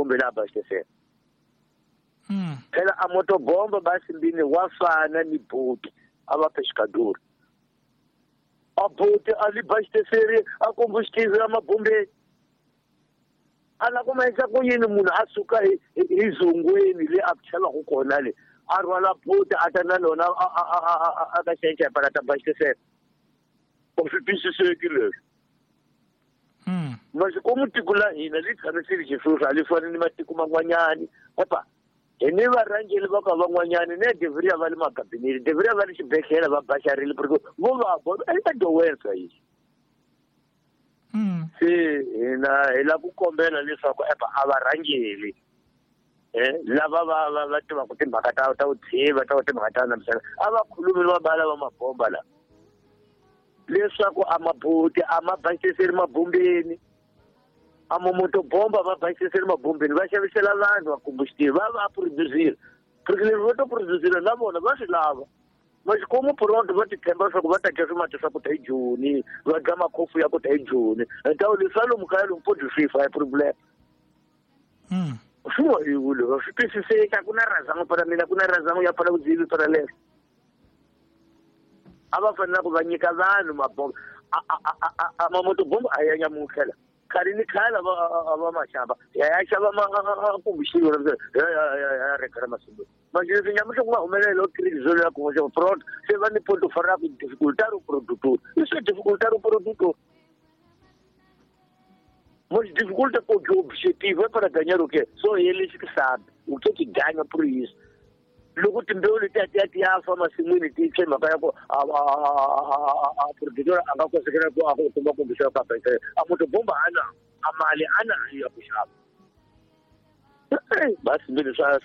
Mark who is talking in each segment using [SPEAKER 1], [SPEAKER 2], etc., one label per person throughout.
[SPEAKER 1] Kumbe la abastecela. Phela a motobomba basimbini wa fana ni boti a va pescador. A boti a li abasteceri a combustível a mabombeni. A la kuma endla ku yini munhu a suka hi zongweni le a chelaka kona le a rhwala boti a ta na lona a ka xenxe para ta abastecela. U swi twisiseki leswi. Masikomu tiko la hina li tshamisile xisweswo a li fani ni matiko man'wanyani. Epa hi ni varhangeri va ka van'wanyani ne deveria va le makabinete deveria va le xibedhlele va baxarile porque vo va eka doença isso. Se hina hi lava ku kombela leswaku epa a varhangeri lava va tivaka timhaka ta vutshiva ta timhaka ta namisava a va khulumi va bala va mabomba la leswaku a mabuti a ma basiseli mabombeni a mamotobomba va basiseli mabombeni va xavisela vanhu va combustível va producile porque leswi va to producile na vona va swi lava. Maxikomu pronto va ti tshemba leswaku va ta dya swimati swa ku ta hi Joni va dya makhofu ya ku ta hi Joni ntawu leswi swa lomu kaya lomu podi swi fa hi problem. Swi wa yiwile va swi twisiseki a ku na razango para mina ku na razango ya pfala vudzivi para leswo. A va fanele ku va nyika vanhu mabomba a mamotobomba a ya nyamutlhela khale ni khale va maxava ya ya xava combustível ya reka masungulo. Mas leswi nyamutlha ku nga humelela crise ya ku pronto se va ni ponto fora ku dificultar o produtor. Isso é dificultar o produtor. Mas dificulta porque o objetivo é para ganhar o quê? Só eles que sabem o que que ganha por isso. Loko timbewu letiya ti ya ti ya fa masin'wini ti tshwe mhaka ya ku a produtor a nga kosekela ku a kuma kombisa ka a motobomba ana a mali ana ya ku xava. Basi mbili swa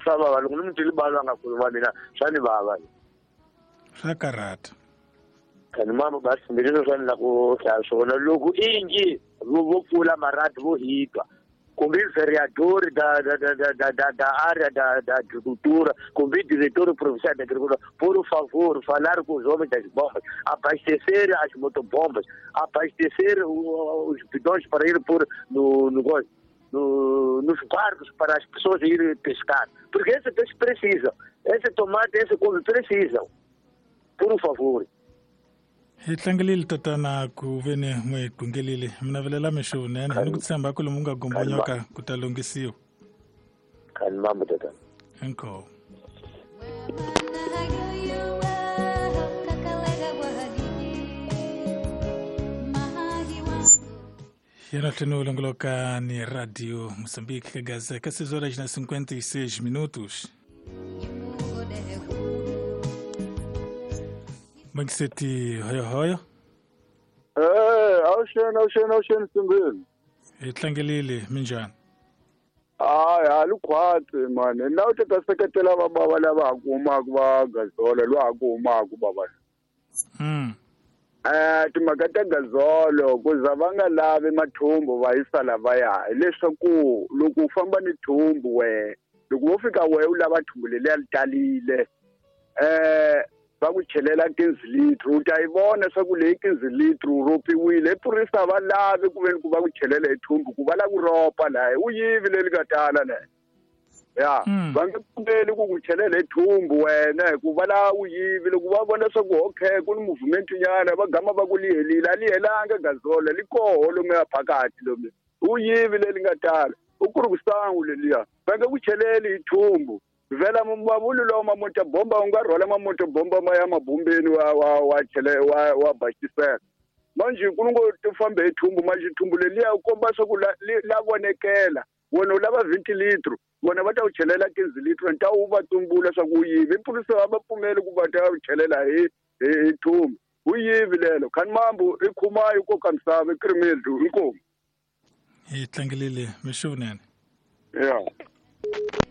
[SPEAKER 1] vava loko ni mutili balo a nga khuluma mina swa ni vava.
[SPEAKER 2] Swa karhata.
[SPEAKER 1] Kani mama basi mbili swa ni la ku hlaya swona loko ingi vo pfula marati vo hitwa kumbe vereador da área da agricultura, kumbe diretor provincial da agricultura, por favor, falar com os homens das bombas, abastecer as motobombas, abastecer os bidões para ir por nos barcos para as pessoas irem pescar. Porque esse peixe precisam, esse tomate, esse couve precisam. Por favor.
[SPEAKER 2] Hi tlangelile tatana ku veni n'wi qungelile mina vilela mixo nene ni ku tshemba ku lomu nga gombonyoka ku ta lunghisiwa.
[SPEAKER 1] Khani mambo tatana.
[SPEAKER 2] Inkomu. Yena tlhelo longoloka ni Radio Moçambique ka Gaza ka 6 horas na 56 minutos. Mangiseti hoyo hoyo.
[SPEAKER 3] Awuxeni Simbeni.
[SPEAKER 2] Hi tlangelile minjhani?
[SPEAKER 3] Hayi a li khwatsi mani na u ta seketela vabava lava ha ku humaka va Gazola lowa ha ku humaka bava. Timhaka ta Gazolo ku za va nga lavi mathumbu va yisa lavaya hileswaku loko u famba ni thumbu we loko wo fika we u lava thumbu leliya li talile va ku chelela 15 litro u ta yi vona swa ku leyi 15 litro ropiwile i purisa va lavi ku veni ku va ku chelela hi thumbu ku va la ku ropa laha u yivi leri nga tala laha ya va nge pfumeli ku chelela hi thumbu wena hikuva la u yivi loko va vona swa ku okay ku ni movement nyana va gama va ku li helile a li helanga Gazola li koho lomu ya phakathi lomu u yivi leri nga tala u ku ri ku sangu leliya va nge ku cheleli hi thumbu. Vela mavulu lawa mamoto bomba u nga rhwala mamoto bomba ma ya mabombeni wa chele wa bastisela manje ku ngo ti fambe hi thumbu manje thumbu leliya u komba swa ku la vonekela wena u lava 20 litro vona va ta u chelela 15 litro nta u va tumbula swa ku yivi pulisa va pfumeli ku va ta u chelela hi thumbu u yivi lelo khani mambo i khumayo ko ka misava i kirimeli inkomu.
[SPEAKER 2] Hi tlangelile mixo vunene.
[SPEAKER 3] Yeah.